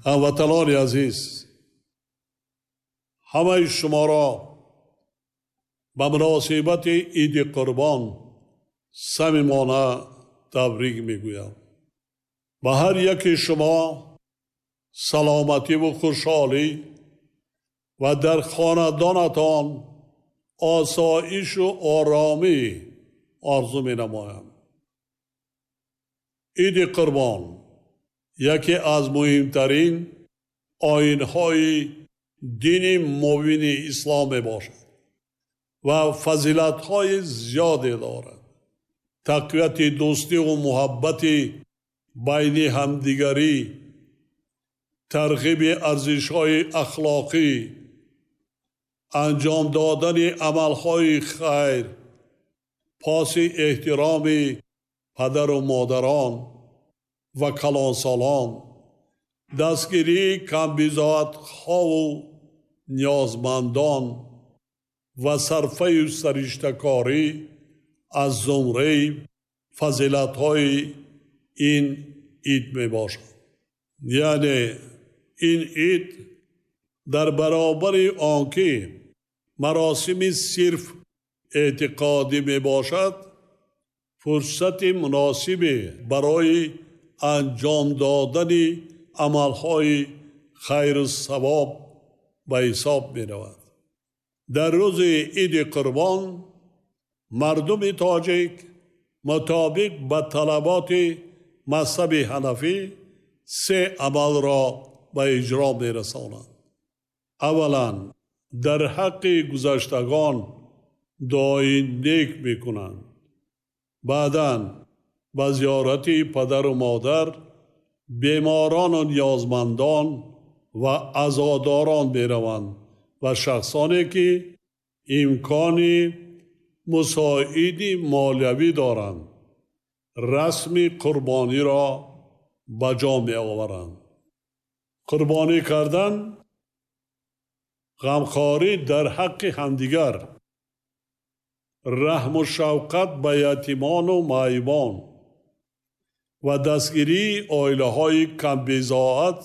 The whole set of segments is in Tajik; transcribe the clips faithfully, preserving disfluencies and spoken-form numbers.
Ҳамватанони азиз, ҳамаи шуморо ба муносибати Иди Қурбон самимона табрик мегӯям. Ба ҳар яки шумо саломативу хушҳолӣ ва дар хонадонатон осоишу оромӣ орзу менамоям. Иди Қурбон яке аз муҳимтарин оинҳои дини мубини ислом мебошад ва фазилатҳои зиёде дорад. Тақвияти дӯстиву муҳаббати байни ҳамдигарӣ, тарғиби арзишҳои ахлоқӣ, анҷом додани амалҳои хайр, поси эҳтироми падару модарон ва калонсолон, дастгирии камбизоатҳову ниёзмандон ва сарфаю сариштакорӣ аз зумраи фазилатҳои ин ид мебошад. Яъне ин ид дар баробари он ки маросими сирф эътиқодӣ мебошад, фурсати муносибе барои анҷом додани амалҳои хайру савоб ба ҳисоб меравад. Дар рӯзи Иди Қурбон мардуми тоҷик мутобиқ ба талаботи мазҳаби ҳанафӣ се амалро ба иҷро мерасонанд. Аввалан, дар ҳаққи гузаштагон дуои нек мекунанд. Баъдан ба зиёрати падару модар, беморону ниёзмандон ва азодорон мераванд ва шахсоне ки имкони мусоиди молиявӣ доранд, расми қурбониро ба ҷо меоваранд. Қурбонӣ кардан ғамхорӣ дар ҳаққи ҳамдигар, раҳму шавқат ба ятимону маъюбон ва дастгирии оилаҳои камбизоат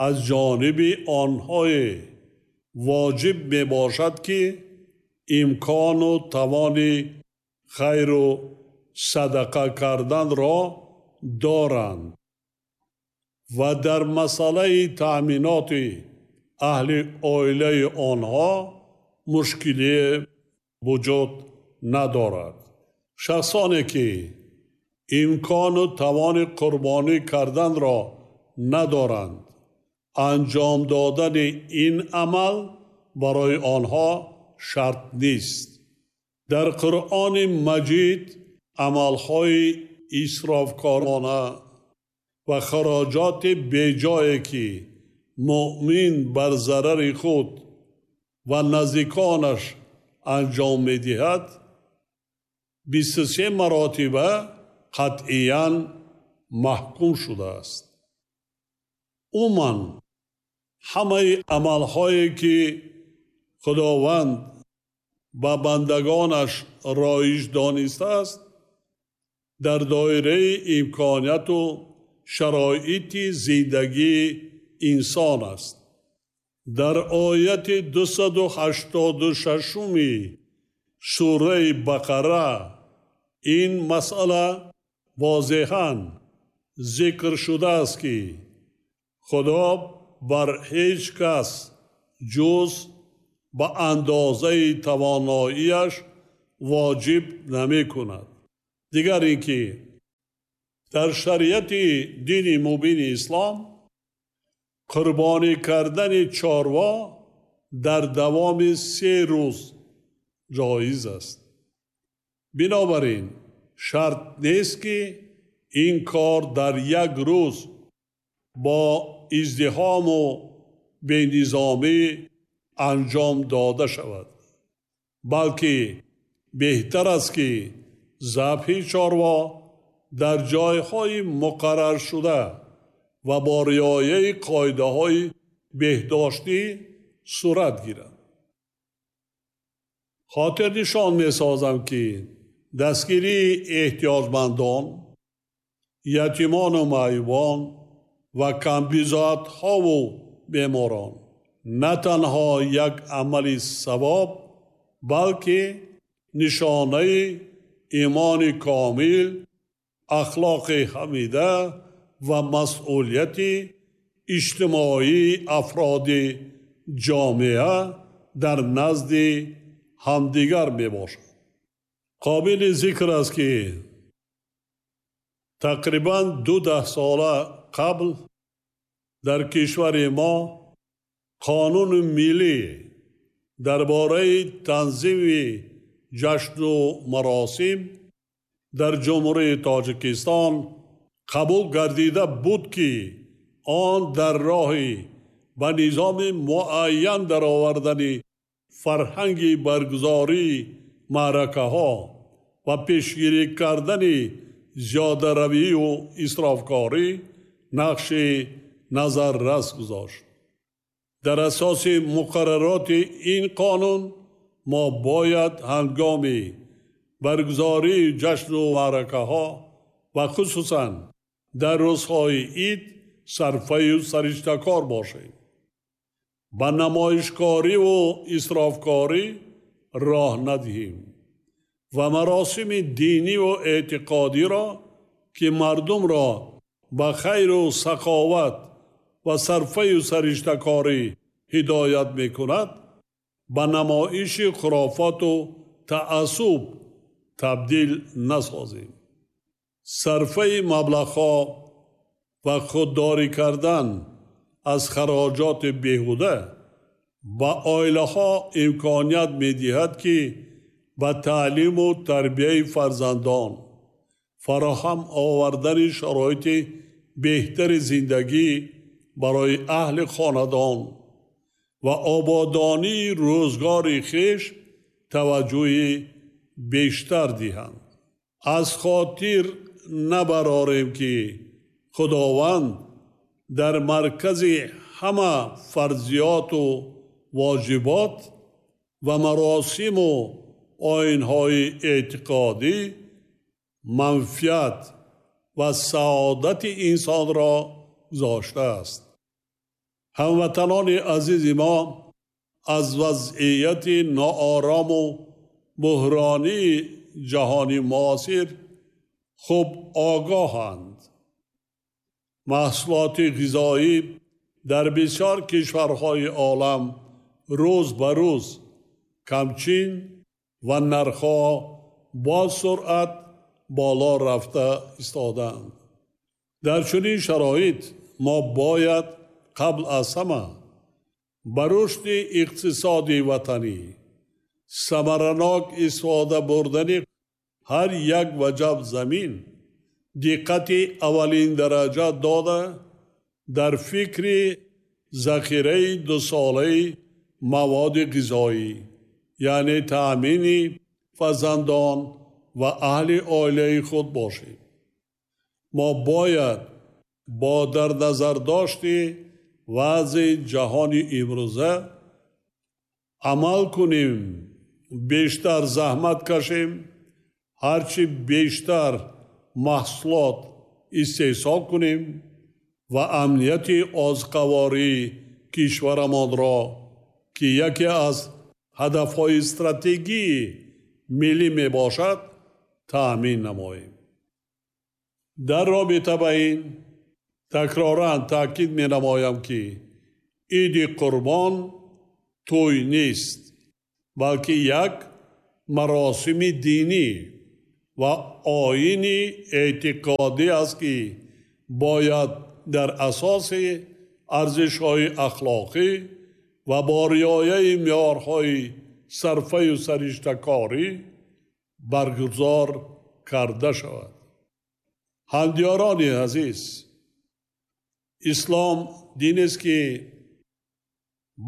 аз ҷониби онҳое воҷиб мебошад, ки имкону тавони хайру садақа карданро доранд ва дар масъалаи таъминоти аҳли оилаи онҳо мушкиле вуҷуд надорад. Шахсоне ки имкону тавони қурбонӣ карданро надоранд, анҷом додани ин амал барои онҳо шарт нест. Дар Қуръони Маҷид амалҳои исрофкорона ва хароҷоти беҷое ки муъмин бар зарари худ ва наздиконаш анҷом медиҳад, бисту се маротиба қатъиян маҳкум шудааст. Умуман ҳамаи амалҳое ки Худованд ба бандагонаш роиҷ донистааст, дар доираи имконияту шароити зиндагии инсон аст. Дар ояти дусаду ҳаштоду шашуми сураи Бақара ин масъала возеҳан зикр шудааст, ки Худо бар ҳеҷ кас ҷуз ба андозаи тавоноияш воҷиб намекунад. Дигар ин ки дар шариати дини мубини ислом қурбонӣ кардани чорво дар давоми се рӯз ҷоиз аст. Бинобар ин шарт нест, ки ин кор дар як рӯз бо издиҳому бенизомӣ анҷом дода шавад, балки беҳтар аст, ки забҳи чорво дар ҷойҳои муқарраршуда ва бо риояи қоидаҳои беҳдоштӣ сурат гирад. Хотирнишон месозам, ки дастгирии эҳтиёҷмандон, ятимону маъюбон ва камбизоатҳову беморон на танҳо як амали савоб, балки нишонаи имони комил, ахлоқи ҳамида ва масъулияти иҷтимоии афроди ҷомеа дар назди ҳамдигар мебошад. Қобили зикр аст, ки тақрибан ду даҳсола қабл дар кишвари мо қонуни миллӣ дар бораи танзими ҷашну маросим дар Ҷумҳурии Тоҷикистон қабул гардида буд, ки он дар роҳи ба низоми муайян даровардани фарҳанги баргузории маъракаҳо ва пешгирӣ кардани зиёдаравию исрофкорӣ нақши назаррас гузошт. Дар асоси муқаррароти ин қонун мо бояд ҳангоми баргузории ҷашну маъракаҳо ва хусусан дар рӯзҳои ид сарфаю сариштакор бошем, ба намоишкориву исрофкорӣ роҳ надиҳем ва маросими диниву эътиқодиро, ки мардумро ба хайру саховат ва сарфаю сариштакорӣ ҳидоят мекунад, ба намоиши хурофоту таассуб табдил насозем. Сарфаи маблағҳо ва худдорӣ кардан аз хароҷоти беҳуда ба оилаҳо имконият медиҳад, ки ба таълиму тарбияи фарзандон, фароҳам овардани шароити беҳтари зиндагӣ барои аҳли хонадон ва ободонии рӯзгори хеш таваҷҷӯҳи бештар диҳанд. Аз хотир набарорем, ки Худованд дар маркази ҳама фарзиёту воҷибот ва маросиму оинҳои эътиқодӣ манфиат ва саодати инсонро гузоштааст. Ҳамватанони азизи мо аз вазъияти ноорому буҳронии ҷаҳони муосир хуб огоҳанд. Маҳсулоти ғизоӣ дар бисёр кишварҳои олам рӯз ба рӯз камчин ва нархҳо бо суръат боло рафта истодаанд. Дар чунин шароит мо бояд қабл аз ҳама ба рушди иқтисоди ватанӣ, самаранок истифода бурдани ҳар як ваҷаб замин диққати аввалин дараҷа дода, дар фикри захираи дусолаи маводи ғизоӣ, яъне таъмини фарзандон ва аҳли оилаи худ бошем. Мо бояд бо дар назардошти вазъи ҷаҳони имрӯза амал кунем, бештар заҳмат кашем, ҳарчи бештар маҳсулот истеҳсол кунем ва амнияти озуқавории кишварамонро, ки яке аз ҳадафҳои стратегии миллӣ мебошад, таъмин намоем. Дар робита ба ин такроран таъкид менамоям, ки иди Қурбон тӯй нест, балки як маросими динӣ ва оини эътиқодӣ аст, ки бояд дар асоси арзишҳои ахлоқӣ ва бо риояи меъёрҳои сарфаю сариштакорӣ баргузор карда шавад. Ҳамдиёрони азиз, ислом динест, ки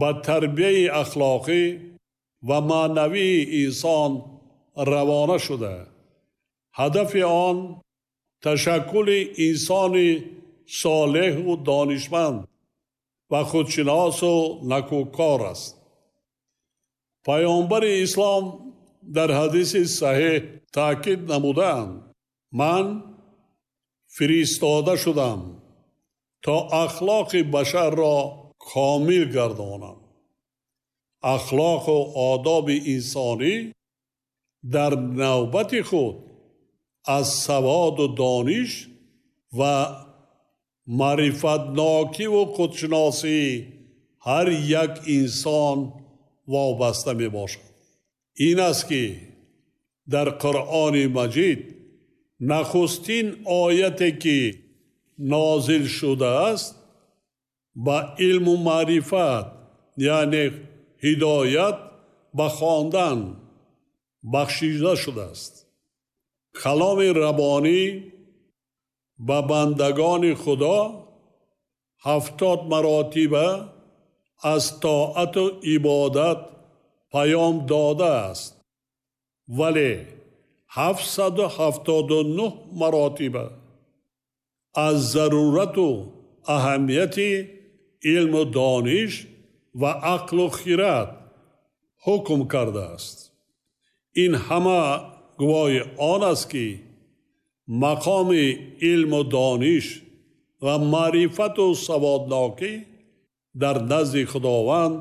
ба тарбияи ахлоқӣ ва маънавии инсон равона шуда, ҳадафи он ташаккули инсони солеҳу донишманд ва худшиносу накӯкор аст. Паёмбари ислом дар ҳадиси саҳеҳ таъкид намудаанд: ман фиристода шудам то ахлоқи башарро комил гардонанд. Ахлоқу одоби инсонӣ дар навбати худ аз саводу дониш ва маърифатнокиву худшиносии ҳар як инсон вобаста мебошад. Ин аст ки дар Қуръони Маҷид нахустин ояте ки нозил шудааст ба илму маърифат, яъне ҳидоят ба хондан бахшида шудааст. Каломи Раббонӣ ба бандагони Худо ҳафтод маротиба аз тоату ибодат паём додааст, вале ҳафтсаду ҳафтоду нӯҳ маротиба аз зарурату аҳамияти илму дониш ва ақлу хират ҳукм кардааст. Ин ҳама гувоҳи он аст ки мақоми илму дониш ва маърифату саводнокӣ дар назди Худованд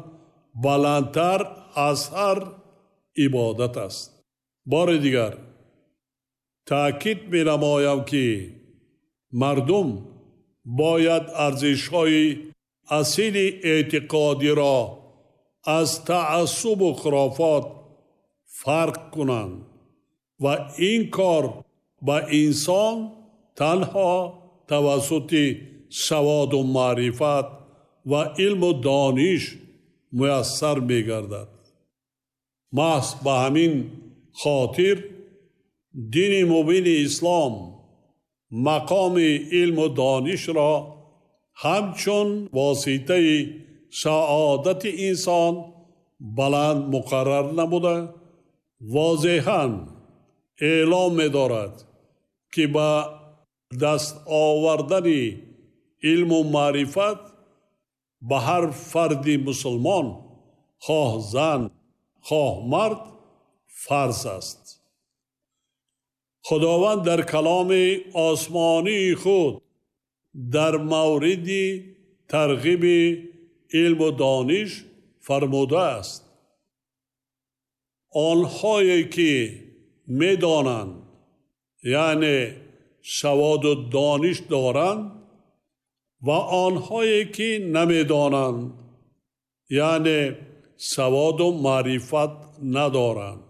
баландтар аз ҳар ибодат аст. Бори дигар таъкид менамоям ки мардум бояд арзишҳои асили эътиқодиро аз таассубу хурофот фарқ кунанд ва ин кор ба инсон танҳо тавассути саводу маърифат ва илму дониш муяссар мегардад. Маҳз ба ҳамин хотир дини мубини ислом мақоми илму донишро ҳамчун воситаи саодати инсон баланд муқаррар намуда, возеҳан эълом медорад ки ба даст овардани илму маърифат ба ҳар фарди мусулмон, хоҳ зан хоҳ мард, фарз аст. Худованд дар каломи осмонии худ дар мавриди тарғиби илму дониш фармудааст: онҳое ки медонанд, яъне саводу дониш доранд, ва онҳое ки намедонанд, яъне саводу маърифат надоранд,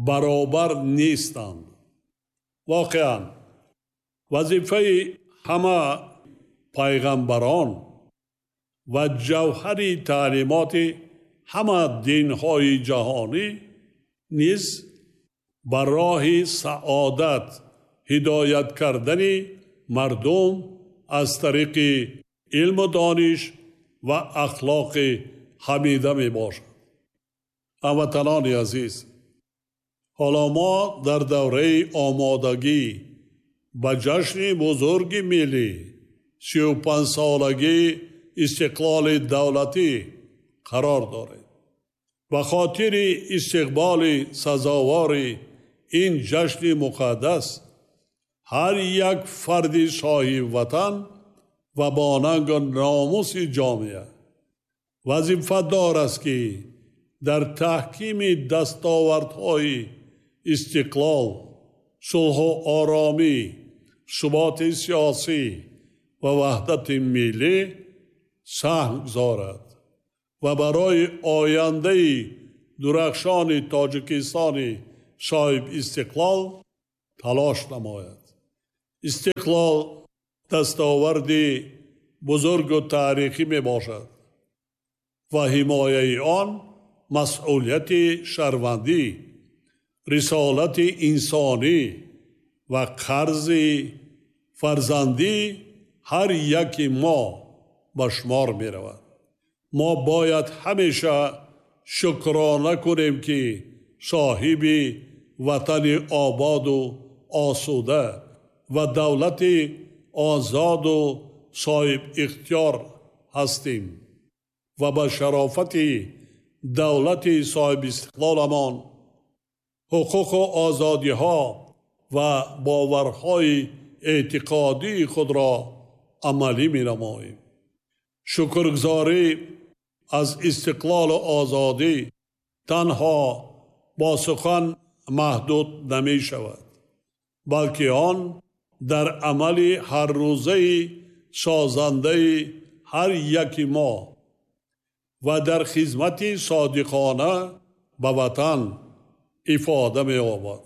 баробар нестанд. Воқеан вазифаи ҳама пайғамбарон ва ҷавҳари таълимоти ҳама динҳои ҷаҳонӣ низ ба роҳи саодат ҳидоят кардани мардум аз тариқи илму дониш ва ахлоқи ҳамида мебошад. Ҳамватанони азиз, ҳоло мо дар давраи омодагӣ ба ҷашни бузурги миллӣ сию панҷсолагии истиқлоли давлатӣ қарор дорем. Ба хотири истиқболи сазовори ин ҷашни муқаддас ҳар як фарди соҳиби ватан ва бо нангу номуси ҷомеа вазифадор аст ки дар таҳкими дастовардҳои истиқлол, сулҳу оромӣ, суботи сиёсӣ ва ваҳдати миллӣ саҳм гузорад ва барои ояндаи дурахшони Тоҷикистони соҳиби истиқлол талош намояд. Истиқлол дастоварди бузургу таърихӣ мебошад ва ҳимояи он масъулияти шаҳрвандӣ, рисолати инсонӣ ва қарзи фарзандӣ ҳар яки мо ба шумор меравад. Мо бояд ҳамеша шукрона кунем ки соҳиби ватани ободу осуда ва давлати озоду соҳиб ихтиёр ҳастем ва ба шарофати давлати соҳиби истиқлоламон ҳуқуқу озодиҳо ва боварҳои эътиқодии худро амалӣ менамоем. Шукргузорӣ аз истиқлолу озодӣ танҳо бо сухан маҳдуд намешавад, балки он дар амали ҳаррӯзаи созандаи ҳар яки мо ва дар хизмати содиқона ба ватан ифода меёбад.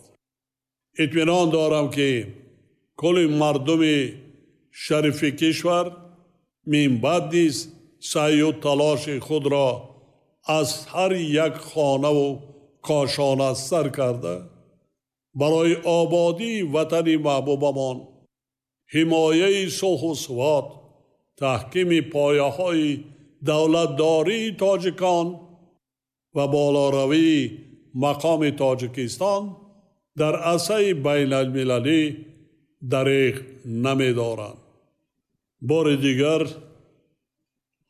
Итминон дорам, ки кулли мардуми шарифи кишвар минбаъд низ саъю талоши худро аз ҳар як хонаву кошона сар карда барои ободии ватани маҳбубамон, ҳимояи сулҳу субот, таҳкими пояҳои давлатдории тоҷикон ва болоравии мақоми Тоҷикистон дар арсаи байналмилалӣ дареғ намедоранд. Бори дигар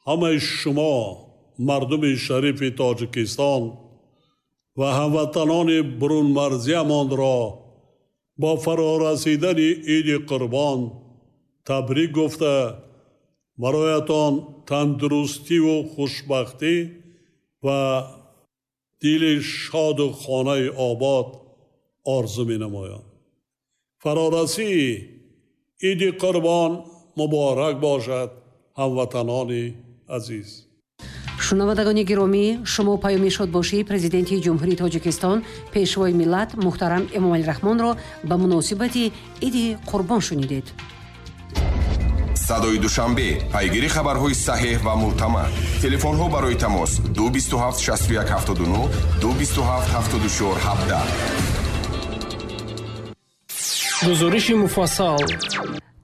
ҳамаи шумо мардуми шарифи Тоҷикистон ва ҳамватанони бурунмарзиямонро бо фарорасидани Иди Қурбон табрик гуфта, бароятон тандурустиву хушбахтӣ ва дили шоду хонаи обод орзу менамоям. Фарорасии Иди Қурбон муборак бошад, ҳамватанони азиз. Шунавандагони гиромӣ, шумо паёми шодбошии Президенти Ҷумҳурии Тоҷикистон, Пешвои миллат муҳтарам Эмомалӣ Раҳмонро ба муносибати Иди Қурбон шунидед. Садои Душанбе, пайгири хабарҳои саҳеҳ ва мӯътамад. Телефонҳо барои тамос ду бисту ҳафт шасту як ҳафтоду нӯҳ, ду бисту ҳафт ҳафтоду чор ҳабдаҳ. Гузориши муфассал.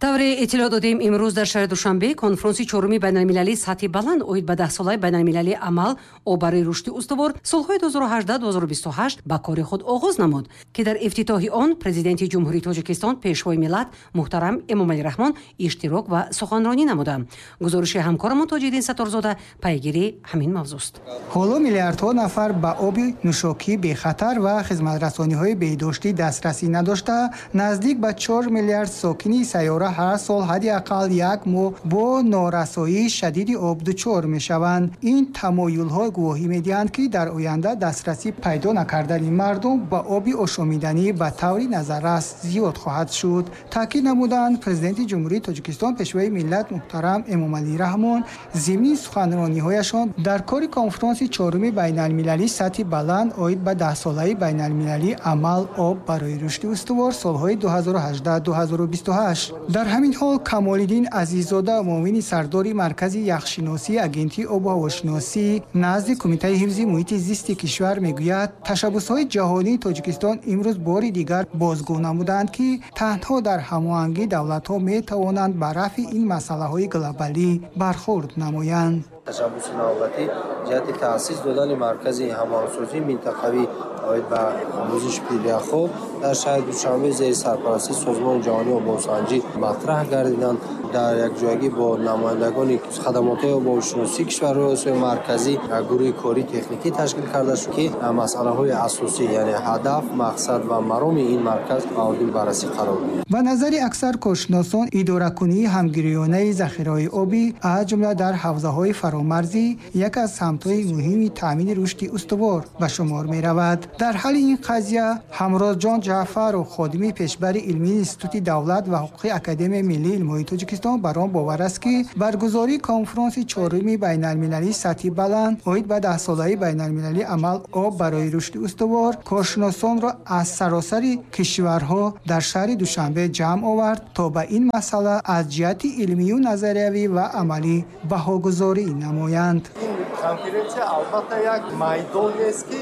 Тавре иттилоъ додем, имрӯз дар шаҳри Душанбе конфронси чоруми байналмилалии сатҳи баланд оид ба даҳсолаи байналмилалии амал об барои рушди устувор солҳои ду ҳазору ҳаждаҳ ду ҳазору бисту ҳашт ба кори худ оғоз намуд, ки дар ифтитоҳи он Президенти Ҷумҳурии Тоҷикистон, Пешвои миллат муҳтарам Эмомалӣ Раҳмон иштирок ва суханронӣ намуданд. Гузориши ҳамкорамон Тоҷиддин Сатторзода пайгири ҳамин мавзӯст. Ҳоло миллиардҳо нафар ба оби нӯшокӣ бехатар ва хизматрасониҳои беҳдоштӣ дастрасӣ надошта, наздик ба чор миллиард сокини сайёра ҳар сол ҳадди ақал як моҳ бо норасоии шадиди об дучор мешаванд. Ин тамоюлҳо гувоҳӣ медиҳанд, ки дар оянда дастрасӣ пайдо накардани мардум ба оби ошомиданӣ ба таври назаррас зиёд хоҳад шуд. Таъкид намуданд Президенти Ҷумҳурии Тоҷикистон, Пешвои миллат муҳтарам Эмомалӣ Раҳмон зимни суханрониҳояшон дар кори конфронси чоруми байналмилалии сатҳи баланд оид ба даҳсолаи байналмилалии амал об барои рушди устувор солҳои ду ҳазору ҳаждаҳ ду ҳазору бисту ҳашт. Дар ҳамин ҳол Камолиддин Азиззода, муовини сардори Маркази яхшиносии Агентии обу ҳавошиносӣ назди Кумитаи ҳифзи муҳити зисти кишвар мегӯяд, ташаббусҳои ҷаҳонии Тоҷикистон имрӯз бори дигар бозгӯ намуданд, ки танҳо дар ҳамоҳангӣ давлатҳо метавонанд ба рафъи ин масъалаҳои глобалӣ бархӯрд намоянд. Ташаббуси навбатӣ ҷиҳати таъсис додани маркази ҳамоҳангсозии минтақавӣ оид ба омӯзиши пиряхҳо дар шаҳри Душанбе зери сарпарастии Созмони ҷаҳонии обуҳавосанҷӣ матраҳ гардиданд. Дар якҷоягӣ бо намояндагони хадамотҳои обуҳавошиносии кишварҳои Осиёи Марказӣ гурӯҳи кории техникӣ ташкил карда шуд, ки масъалаҳои асосӣ, яъне ҳадаф, мақсад ва мароми ин марказ мавриди баррасӣ қарор гирифт. Ба назари аксар коршиносон, идоракунии ҳамгироёнаи захираҳои обӣ аз ҷумла дар ҳавзаҳои фаромарзӣ як аз самтҳои муҳими таъмини рушди устувор ба шумор меравад. Дар ҳалли ин қазия Ҳамрозҷон Ҷаъфаров, ходими пешбари илмии Институти давлат ва ҳуқуқи Академияи миллии илмҳои Тоҷикистон, бар он бовар аст, ки баргузории конфронси чоруми байналмилалии сатҳи баланд оид ба даҳсолаи байналмилалии амал об барои рушди устувор коршиносонро аз саросари кишварҳо дар шаҳри Душанбе ҷамъ овард, то ба ин масъала аз ҷиҳати илмию назариявӣ ва амалӣ баҳогузорӣ намоянд. Ин конференсия албатта як майдонест, ки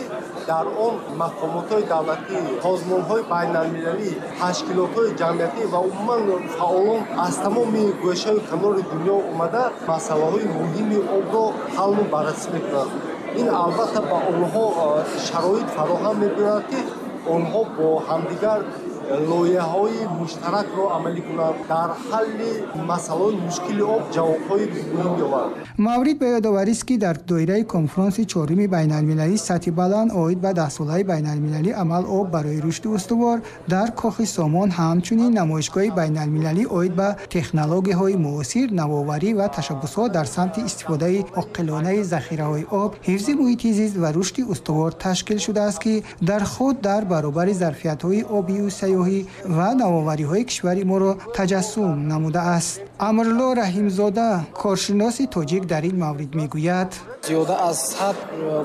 дар он мақомотҳои давлатӣ, созмонҳои байналмилалӣ, ташкилотҳои ҷамъиятӣ ва умуман фаъолон аз тамоми гӯшаю канори дунё омада масъалаҳои муҳими обро ҳаллу баррасӣ мекунанд. Ин албатта ба онҳо шароит фароҳам мебиёрад, ки онҳо бо ҳамдигар Лоиҳаҳои муштаракро амалӣ кунанд, дар ҳалли масъалаҳои мушкили об ҷавобҳои муҳим ёбанд. Маврид ба ёдоварист, ки дар доираи конфронси чоруми байналмилалии сатҳи баланд оид ба даҳсолаи байналмилалии амал об барои рушди устувор дар Кохи Сомон ҳамчунин намоишгоҳи байналмилалӣ оид ба технологияҳои муосир, навоварӣ ва ташаббусҳо дар самти истифодаи оқилонаи захираҳои об, ҳифзи муҳити зист ва рушди устувор ташкил шудааст, ки дар худ дар баробари зарфиятҳои обию сайёҳӣ ва навовариҳои кишвари моро таҷассум намудааст. Амрло Раҳимзода, коршиноси тоҷик, дар ин маврид мегӯяд: зиёда аз сад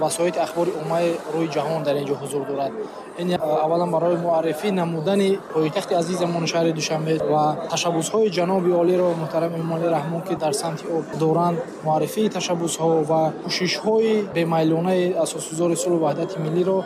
васоити ахбори оммаи рӯи ҷаҳон дар ин ҷо ҳузур дорад. Ин аввалан барои муаррифӣ намудани пойтахти азизамон шаҳри Душанбе ва ташаббусҳои ҷаноби олиро муҳтарам Эмомалӣ Раҳмон, ки дар самти об доранд, муаррифии ташаббусҳо ва кӯшишҳои бемайлонаи асосгузори сулҳу ваҳдати миллиро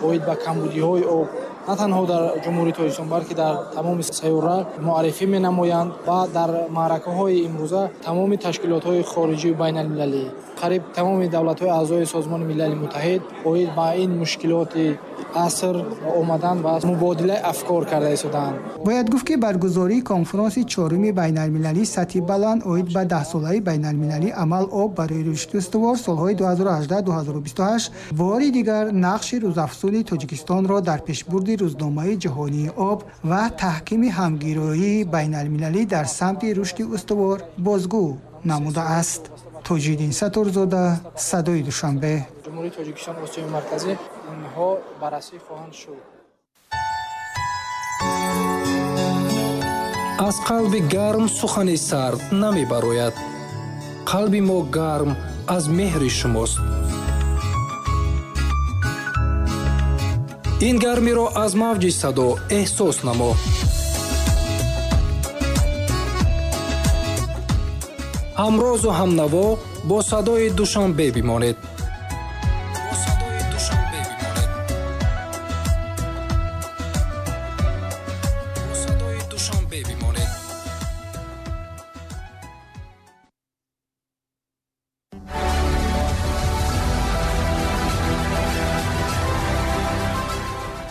оид ба камбудиҳои об на танҳо дар Ҷумҳурии Тоҷикистон, балки дар тамоми сайёра муаррифӣ менамоянд ва дар маъракаҳои имрӯза тамоми ташкилотҳои хориҷию байналмилалӣ, қариб тамоми давлатҳои аъзои Созмони Милали Муттаҳид оид ба ин мушкилоти аср омаданд ва мубодилаи афкор карда истодаанд. Бояд гуфт, ки баргузории конфронси чоруми байналмилалии сатҳи баланд оид ба даҳсолаи байналмилалии амал об барои рушди устувор солҳои ду ҳазору ҳаждаҳ ду ҳазору бисту ҳашт бори дигар нақши рӯзафзуни Тоҷикистонро дар пешбурди рӯзномаи ҷаҳонии об ва таҳкими ҳамгироии байналмилалӣ дар самти рушди устувор бозгӯ намудааст. Тоҷиддин Сатторзода, Садои Душанбе. Ҷумҳурии Тоҷикистон, Осиёи Марказӣ инҳо баррасӣ хоҳанд шуд. Аз қалби гарм сухани сард намебарояд. Қалби мо гарм аз меҳри шумост. Ин гармиро аз мавҷи садо эҳсос намо. Ҳамрозу ҳамнаво бо садои Душанбе бимонед.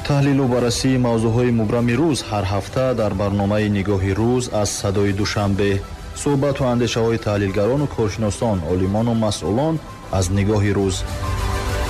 Таҳлилу баррасии мавзӯъҳои мубрами рӯз ҳар ҳафта дар барномаи Нигоҳи рӯз аз Садои Душанбе. Суҳбату андешаҳои таҳлилгарону коршиносон, олимону масъулон аз Нигоҳи рӯз.